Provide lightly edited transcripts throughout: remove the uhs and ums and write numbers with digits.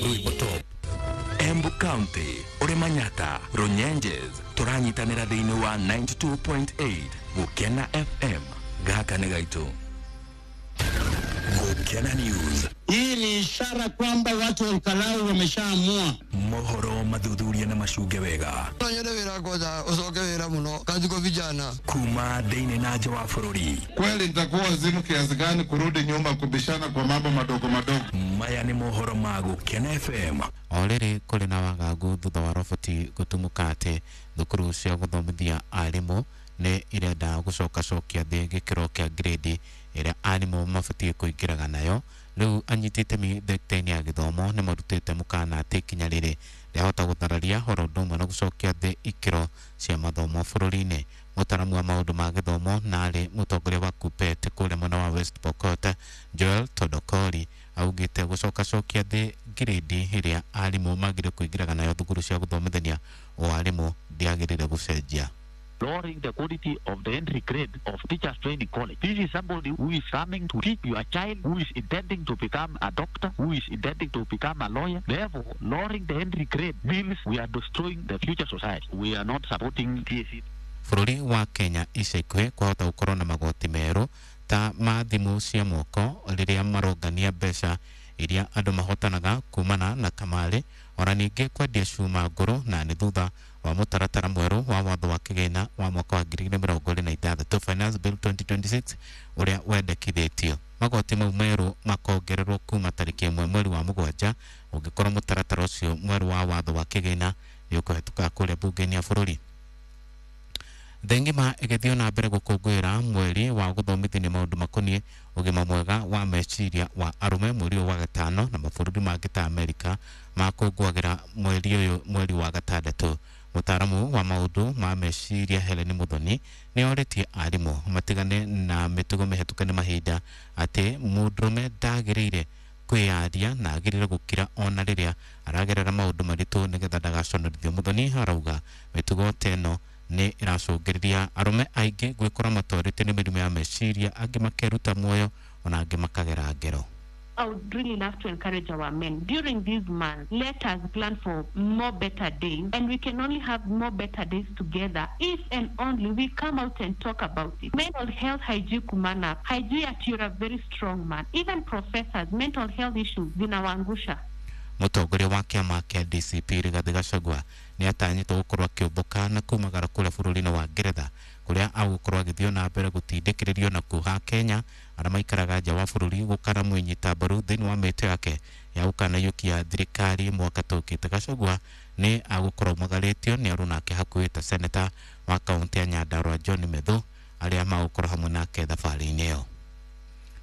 Rwĩmbo Top, Embu County, ũrĩ Manyata, Runyenjes, tũranyitanĩra thĩinĩ wa 92.8 Gũkena FM. Gaka nĩ gaitũ. Gũkena News. Hii ni ishara kwamba watu wa Olkalau wameshaamua. Mohoro mathuthuria na macunge wega. No nyende wĩra kwanza ucoke wĩra mũno kazi kwa vijana. Kuma thĩinĩ na nja wa bũrũri. Kweli nitakuwa wazimu kiasi gani kurudi nyuma kubishana kwa mambo madogo madogo? Maya nĩ mohoro ma Gũkena FM. O rĩrĩ kũrĩ na wagagu thutha wa roboti gũtumũka atĩ thukuru cia gũthomithia arimũ nĩ irenda gũcokacokia thĩ gĩkĩro kĩa grade ĩrĩa arimũ mabatiĩ kũingĩraga nayo. Rĩu anyiti itemi thekita-inĩ ya gĩthomo nĩ marutĩte mũkana atĩ ikinya rĩrĩ rĩahota gũthararia oro ũndũ ũmwe na gũcokia thĩ ikĩro cia mathomo bũrũri-inĩ. Mũtaaramu wa maũndũ ma gĩthomo na arĩ mũtongoria wa KUPPET kũrĩa mwena wa West Pokot, Joel Todokori, augĩte gũcokacokia thĩ grade ĩrĩa arimũ magĩrĩire kũingĩraga nayo thukuru cia gũthomithania ũarimũ ndĩagĩrĩire gũcenjia. Lowering the quality of the entry grade of teachers training college. This is somebody who is coming to teach your child, who is intending to become a doctor, who is intending to become a lawyer. Therefore, lowering the entry grade means we are destroying the future society. We are not supporting TSC. Bũrũri wa Kenya ica ikuhĩ kwahota gũkorwo na magoti merũ ta ma thimũ cia moko rĩrĩa marongania mbeca iria andũ mahotanaga kumana na kamarĩ, ona ningĩ kwendia cuma ngũrũ, na nĩ thutha wa mũtaratara mwerũ wa watho wa kĩgĩna wa mwaka wa 2026 Finance Bill 2026 ũrĩa wendekithĩtio. Magoti mau merũ makongererwo kuma tarĩki 1 mweri wa 7 ũngĩkorwo mũtaratara ũcio mwerũ wa watho wa kĩgĩna nĩ ũkũhetũka kũrĩa bunge-inĩ ya bũrũri. Thĩ ng'ima ĩgĩthiĩ na mbere gũkũngũĩra mweri wa gũthomithania maũndũ makoniĩ ũgima mwega wa meciria wa arũme mweri ũyũ wa gatano, na mabũrũri mangĩ ta Amerika makũngũagĩra mweri ũyũ mweri wa gatandatũ. Mũtaaramu wa maũndũ ma meciria Helen Muthoni nĩ orĩtie arimũ matigane na mĩtugo mĩhetũke nĩ mahinda atĩ mũndũrũme ndagĩrĩire kwĩyaria na agĩrĩire gũkira ona rĩrĩa aragerera maũndũ maritũ nĩgetha ndagaconorithio. Muthoni arauga mĩtugo ta ĩno nĩ ĩracũngĩrĩria arũme aingĩ gwĩkora matwarĩte nĩ mĩrimũ ya meciria, angĩ makeruta muoyo ona angĩ makagera ngero. I would really love to encourage our men during this month. Let us plan for more better days, and we can only have more better days together if and only we come out and talk about it. Mental health haijui kumana, haijui that you're a very strong man. Even professors, mental health issues zinawaangusha. Mũtongoria wa kĩama kĩa DCP Rigathĩ Gachagua nĩ atanyĩtwo gũkorwo akĩũmbũka na kumagara kũrĩa bũrũri-inĩ wa Ngeretha kũrĩa agũkorwo agĩthiĩ na mbere gũtindĩkĩrĩrio na kuha Kenya arĩa maikaraga nja wa bũrũri gũkara mwĩnyita mbaru thĩinĩ wa mĩhĩto yake ya gũkanaiyũkia thirikari mwaka tũkĩte. Gachagua nĩ agũkorwo aumagarĩtio nĩ aruna ake hakuhĩ ta seneta wa kaũntĩ ya Nyandarua John Methu arĩa magũkorwo hamwe nake thabarĩ-inĩ ĩyo.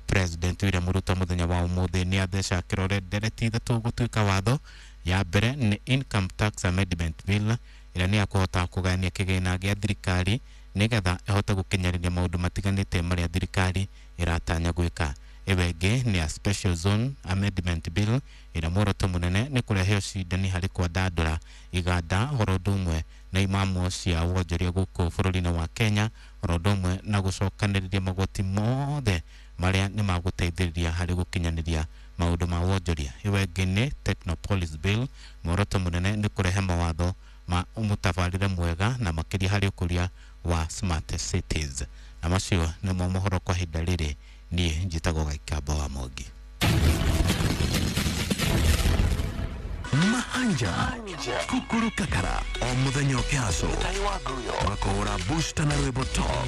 President William Ruto mũthenya wa ũmũthĩ nĩ atheca kĩrore ndereti ithatũ gũtuĩka watho. Ya mbere nĩ Income Tax Amendment Bill ĩrĩa nĩ ya kũhota kũgayania kĩgĩna gĩa thirikari nĩgetha ĩhote gũkinyanĩria maũndũ matiganĩte marĩa thirikari ĩratanya gwĩka. Ĩyo ĩngĩ nĩ ya Special Zone Amendment Bill ĩrĩa muoroto mũnene nĩ kũrehe ũcindani harĩ kwandandũra iganda oro ũndũ ũmwe na imamo cia wonjoria gũkũ bũrũri-inĩ wa Kenya, oro ũndũ ũmwe na gũcokanĩrĩria magoti mothe marĩa nĩ magũteithĩrĩria harĩ gũkinyanĩria maũndũ ma wonjoria. Ĩyo ĩngĩ nĩ Technopolis Bill, muoroto mũnene nĩ kũrehe mawatho ma mũtabarĩre mwega na makĩria harĩ ũkũria wa smart cities. Na macio nĩmo mohoro kwa ihinda rĩrĩ. Niĩ njĩtagwo Gaikamba wa Mwangi. Mahanja Kukuru Kakara o mũthenya ũkĩhaco makũhũra booster na rwĩmbo top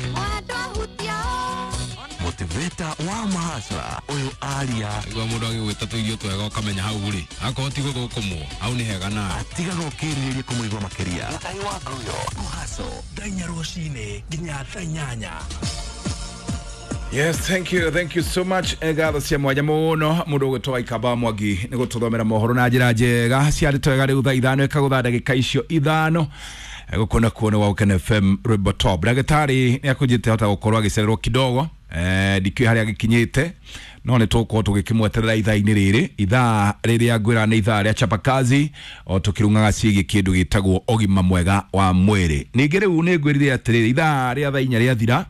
motivator wa mahasra ũyũ aria Igua mũndũ agĩgwĩta tũirio twega ũkamenya hau rĩ akorwo ti gũthũkũmwo hau nĩ hega nawe atigaga ũkĩrirĩria kũmũigua makĩria. Kũhaco thaa inya rũcinĩ nginya thaa inyanya. Yes, thank you so much. Ngatho cia mwanya mũno mũndũ ũgwĩtwo Waikamba Mwangi nĩ gũtũthomera mohoro na njĩra njega ciarĩ twega. Rĩu thaa 5 ĩkagũtha ndagĩka icio 5 gũkũ na kuo nĩ wa Gũkena FM Rwĩmbo Top. Ndagĩtarĩ nĩ akũnjĩte hota gũkorwo agĩcererwo kidogo, ndikĩũĩ harĩa agĩkinyĩte, no nĩ tũgũkorwo tũgĩkĩmweterera ithaa-inĩ rĩrĩ, ithaa rĩrĩa ngwĩra nĩ ithaa rĩa chapakazi o tũkĩrung'aga ciĩgiĩ kĩndũ gĩtagwo ũgima mwega wa mwĩrĩ. Ningĩ rĩu nĩ ngwĩrire atĩrĩrĩ, ithaa rĩa thaa 4 rĩathira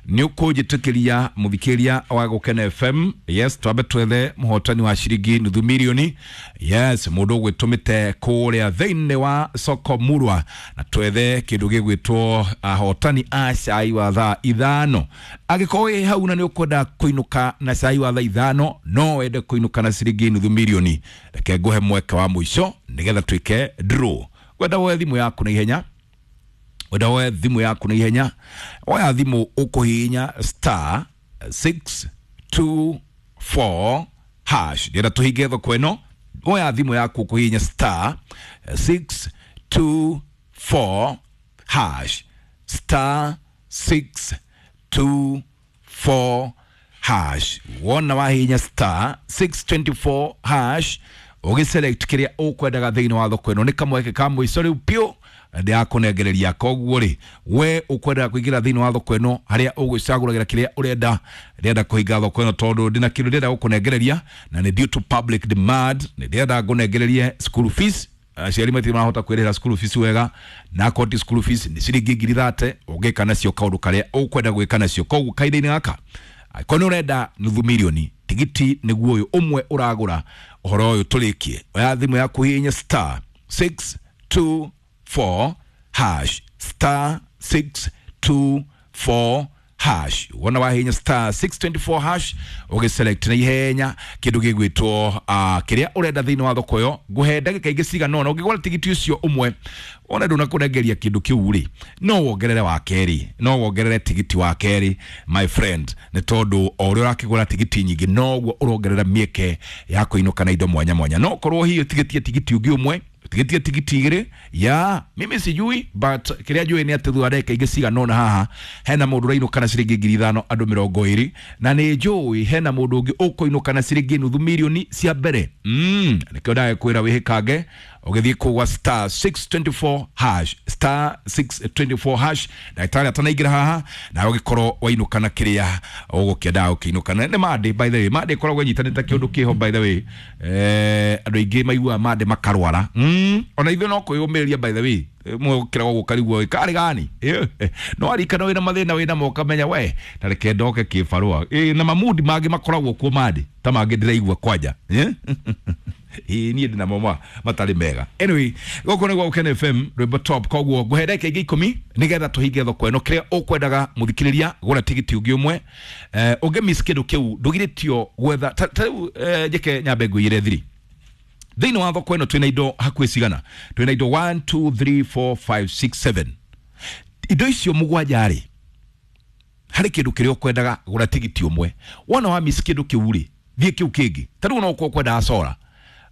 Nĩ ũkũnjĩtĩkĩria mũthikĩria wa Gũkena FM, yes, twambe twethe mũhotani wa ciringi nuthu mirioni, yes, mũndũ ũgwĩtũmĩte kũrĩa thĩinĩ wa soko murwa, na twethe kĩndũ gĩgwĩtwo ahotani a cai wa thaa 5. Angĩkorwo wĩ hau na nĩ ũkwenda kũinũka na cai wa thaa 5, no wende kũinũka na ciringi nuthu mirioni, reke ngũhe mweke wa mũico nĩgetha twĩke draw. Kwenda woe thimũ yaku na ihenya, wenda woe thimũ yaku na ihenya, oya thimũ ũkũhihinya star 624 hash. Ndĩrenda tũhinge thoko ĩno, oya thimũ yaku ũkũhihinya star 624 hash, star 624 hash. Wona wahihinya star 624 hash, ũgĩselect kĩrĩa ũkwendaga thĩinĩ wa thoko ĩno, nĩ kamweke ka mũico rĩu piũ ndĩrakũnengereria. Koguo rĩ, we ũkwendaga kũingĩra thĩinĩ wa thoko ĩno harĩa ũgwĩcagũragĩra kĩrĩa ũrenda, ndĩrenda kũhinga thoko ĩno tondũ ndĩna kĩndũ ndĩrenda gũkũnengereria, na nĩ due to public demand, nĩ ndĩrenda ngũnengererie school fees. Aciari matirĩ marahota kwĩrĩhĩra school fees wega, na akorwo ti school fees nĩ ciringi 30,000 ũngĩka nacio kaũndũ karĩa ũkwenda gwĩka nacio. Koguo kahinda-inĩ gaka, angĩkorwo nĩ ũrenda nuthu mirioni, tigiti nĩguo ũyũ ũmwe ũragũra ũhoro ũyũ tũrĩkie. Oya thimũ yaku hihinya star 624 hash, star 624 hash. Wona wahinya star 624 hash, ũgĩselect na ihenya kĩndũ gĩgwĩtwo kĩrĩa ũrenda thĩinĩ wa thoko ĩyo. Ngũhe ndagĩka ingĩ cigana ũna, ũngĩgũra tigiti ũcio ũmwe wona ndũnakũnengeria kĩndũ kĩu rĩ, no wongerere wa kerĩ, no wongerere tigiti wa kerĩ, my friend, nĩ tondũ o ũrĩa ũrakĩgũra tigiti nyingĩ noguo ũrongerera mĩeke ya kũinũka na indo mwanya mwanya. No korwo hihi ũtigĩtie tigiti ũngĩ ũmwe, tigitie tigiti igĩrĩ, ya mimi sijui, but kĩrĩa njũĩ nĩ atĩ thutha wa ndagĩka ingĩ cigana ũna haha hena mũndũ ũrainũka na ciringi 5,000 andũ 20, na nĩ njũĩ hena mũndũ ũngĩ ũkũinũka na ciringi nuthu mirioni cia mbere. Nĩkĩo ndagĩkwĩra wĩhĩkange ũgĩthiĩ kũgwa star 624 hash, star 624 hash. Ndagĩtarĩ atanaingĩra haha nawe ũgĩkorwo wainũka na kĩrĩa ũgũkĩendaga ũkĩinũka. Na nĩ Monday, by the way, Monday ĩkoragwo ĩnyitanĩte kĩũndũ kĩho, by the way, andũ aingĩ maiguaga Monday makarwara. Ona ithuĩ no kwĩyũmĩrĩria, by the way, mũkĩragwo gũkarigwo karĩ gani, no arikana wĩna mathĩna wĩna mo ũkamenya we na reke ndoke kĩbarũa. Na mamudi mangĩ makoragwo kuo Monday ta mangĩ ndĩraigua kwanja, ĩĩ niĩ ndĩna mo matarĩ mega. Anyway, gũkũ nĩ gwa Gũkena FM rwĩmbo top. Koguo ngũhe ndagĩka ingĩ 10 nĩgetha tũhinge thoko ĩno. Kĩrĩa ũkwendaga mũthikĩrĩria, gũra tigiti ũngĩ ũmwe. Ũngĩ miss kĩndũ kĩu ndũgirĩtio gwetha ta rĩu, njĩke nyambe ngũiyĩre thiri thĩinĩ wa thoko ĩno. Twĩna indo hakuhĩ cigana? Twĩna indo 1 2 3 4 5 6 7, indo icio mũgwanja rĩ, harĩ kĩndũ kĩrĩa ũkwendaga gũra tigiti ũmwe. Wona wa miss kĩndũ kĩu rĩ, thiĩ kĩu kĩngĩ. Ta rĩu no ũkorwo ũkwendaga sora,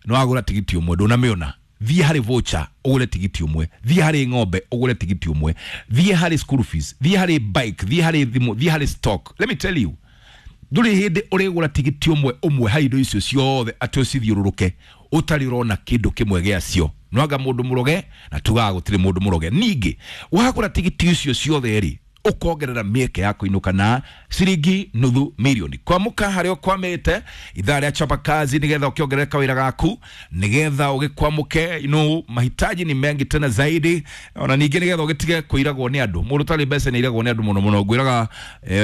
nĩ wagũra tigiti ũmwe ndũnamĩona, thiĩ harĩ voucher ũgũre tigiti ũmwe, thiĩ harĩ ng'ombe ũgũre tigiti ũmwe, thiĩ harĩ school fees, thiĩ harĩ bike, thiĩ harĩ thimũ, thiĩ harĩ stock. Let me tell you, ndũrĩ hĩndĩ ũrĩgũra tigiti ũmwe ũmwe harĩ indo icio ciothe atĩ ũcithiũrũrũke ũtarĩ ũrona kĩndũ kĩmwe gĩacio. Nwanga mũndũ mũroge, na tugaga gũtirĩ mũndũ mũroge. Ningĩ wagũra tigiti icio ciothe rĩ, ũkongerera mĩeke ya kũinũka na ciringi nuthu mirioni. Kwamũka harĩa ũkwamĩte ithaa rĩa chapa kazi, nĩgetha ũkĩongerere kawĩra gaku, nĩgetha ũgĩkwamũke, mahitaji ni mengi tena zaidi. Ona ningĩ nĩgetha ũgĩtige kũiragwo nĩ andũ. Mũndũ ũtarĩ mbeca nĩ airagwo nĩ andũ mũno mũno. Ngwĩraga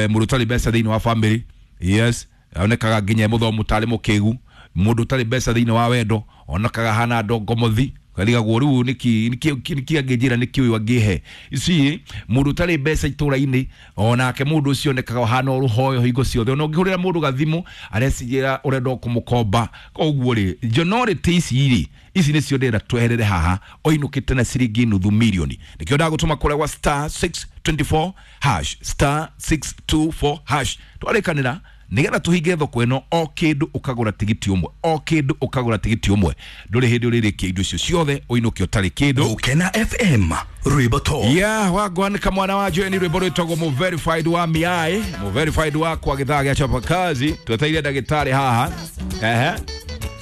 mũndũ ũtarĩ mbeca thĩinĩ wa family, yes, onekaga nginya mũthomu tarĩ mũkĩgu. Mũndũ ũtarĩ mbeca thĩinĩ wa wendo onekaga hana ndongomothi, karigagwo rĩu nĩkĩ nĩkĩ angĩnjĩra, nĩkĩ ũyũ angĩhe ici. Mũndũ ũtarĩ mbeca itũra-inĩ onake mũndũ ũcio onekaga hana ũrũhoyo hingo ciothe, ona ũngĩhũrĩra mũndũ gathimũ arecigĩra ũrenda kũmũkomba. Koguo rĩ, njonorĩtĩ ici rĩ, ici nĩcio ndĩrenda tweherere haha ũinũkĩte na ciringi nuthu mirioni. Nĩkĩo ndagũtũma kũrĩa gwa star 624 hash, star 624 hash. Twarĩkanĩra nĩgetha tũhinge thoko ĩno, o kĩndũ ũkagũra tigiti ũmwe, o kĩndũ ũkagũra tigiti ũmwe, ndũrĩ hĩndĩ ũrĩrĩkia indo icio ciothe ũinũke ũtarĩ kĩndũ. Gũkena FM rwĩmbo top. Yeah, wagwanĩka mwana wa Joeni, rwĩmbo rwĩtagwo mu verified wa miai, mu verified wakwa gĩthaa gĩa chapa kazi. Tweteire ndagĩtarĩ haha, ehe,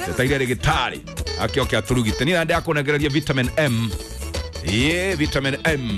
tweteire ndagĩtarĩ akĩoke atũrugite. Niĩ na ndakũnengereria vitamin M, ye vitamin M.